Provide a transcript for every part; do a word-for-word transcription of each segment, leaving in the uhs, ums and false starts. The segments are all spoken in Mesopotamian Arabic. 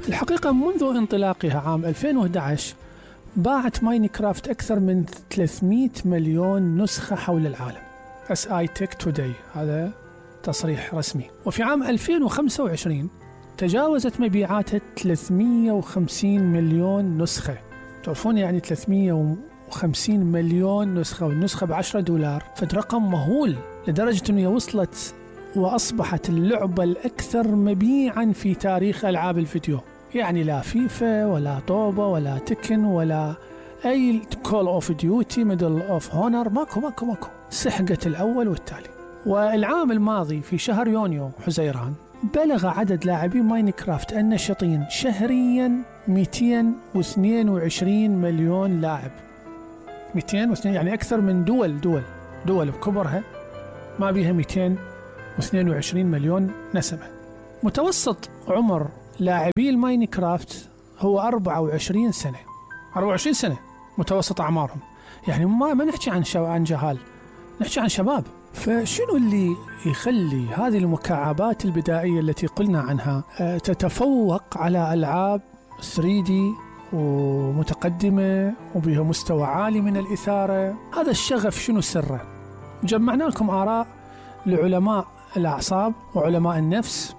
الحقيقة منذ انطلاقها عام ألفين وأحد عشر باعت ماينكرافت أكثر من ثلاثمئة مليون نسخة حول العالم. اس اي تك توداي، هذا تصريح رسمي. وفي عام ألفين وخمسة وعشرين تجاوزت مبيعاتها ثلاثمئة وخمسين مليون نسخة. تعرفون يعني ثلاثمئة وخمسين مليون نسخة، والنسخة بعشرة دولار، فد رقم مهول، لدرجة أنها وصلت وأصبحت اللعبة الأكثر مبيعا في تاريخ ألعاب الفيديو. يعني لا فيفا ولا طوبة ولا تكن ولا أي كول أوف ديوتي ميدل أوف هونر، ماكو ماكو ماكو سحقت الأول والتالي. والعام الماضي في شهر يونيو حزيران بلغ عدد لاعبين ماينكرافت النشطين شهريا مئتين واثنين وعشرين مليون لاعب. مئتين واثنين يعني أكثر من دول دول دول بكبرها ما بيها مئتين واثنين وعشرين مليون نسمة. متوسط عمر لاعبي الماينكرافت هو أربعة وعشرين سنة. أربعة وعشرين سنة متوسط أعمارهم. يعني ما ما نحكي عن شو عن جهال، نحكي عن شباب. فشنو اللي يخلي هذه المكعبات البدائية التي قلنا عنها تتفوق على ألعاب ثري دي ومتقدمة وبها مستوى عالي من الإثارة؟ هذا الشغف شنو سره؟ جمعنا لكم آراء لعلماء الأعصاب وعلماء النفس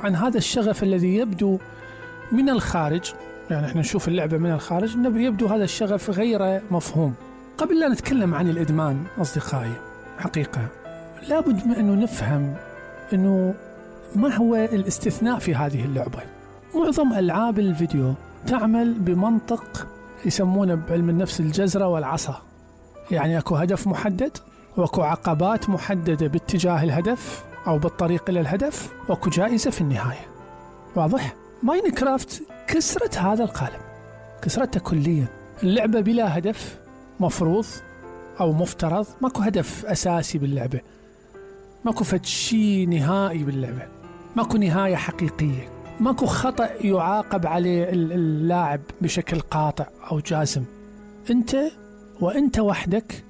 عن هذا الشغف الذي يبدو من الخارج. يعني احنا نشوف اللعبة من الخارج يبدو هذا الشغف غير مفهوم. قبل لا نتكلم عن الإدمان أصدقائي، حقيقة لابد من أنه نفهم أنه ما هو الاستثناء في هذه اللعبة. معظم ألعاب الفيديو تعمل بمنطق يسمونه بعلم النفس الجزرة والعصا. يعني أكو هدف محدد، وأكو عقبات محددة باتجاه الهدف أو بالطريق إلى الهدف، وأكو جائزة في النهاية. واضح؟ ماينكرافت كسرت هذا القالب، كسرته كليا. اللعبة بلا هدف مفروض أو مفترض، ماكو هدف أساسي باللعبة، ماكو فتشي نهائي باللعبة، ماكو نهاية حقيقية، ماكو خطأ يعاقب عليه اللاعب بشكل قاطع أو جازم. أنت وأنت وحدك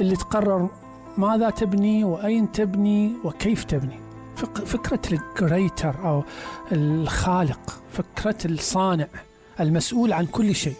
اللي تقرر ماذا تبني وأين تبني وكيف تبني. فكرة الكريتر أو الخالق، فكرة الصانع المسؤول عن كل شيء.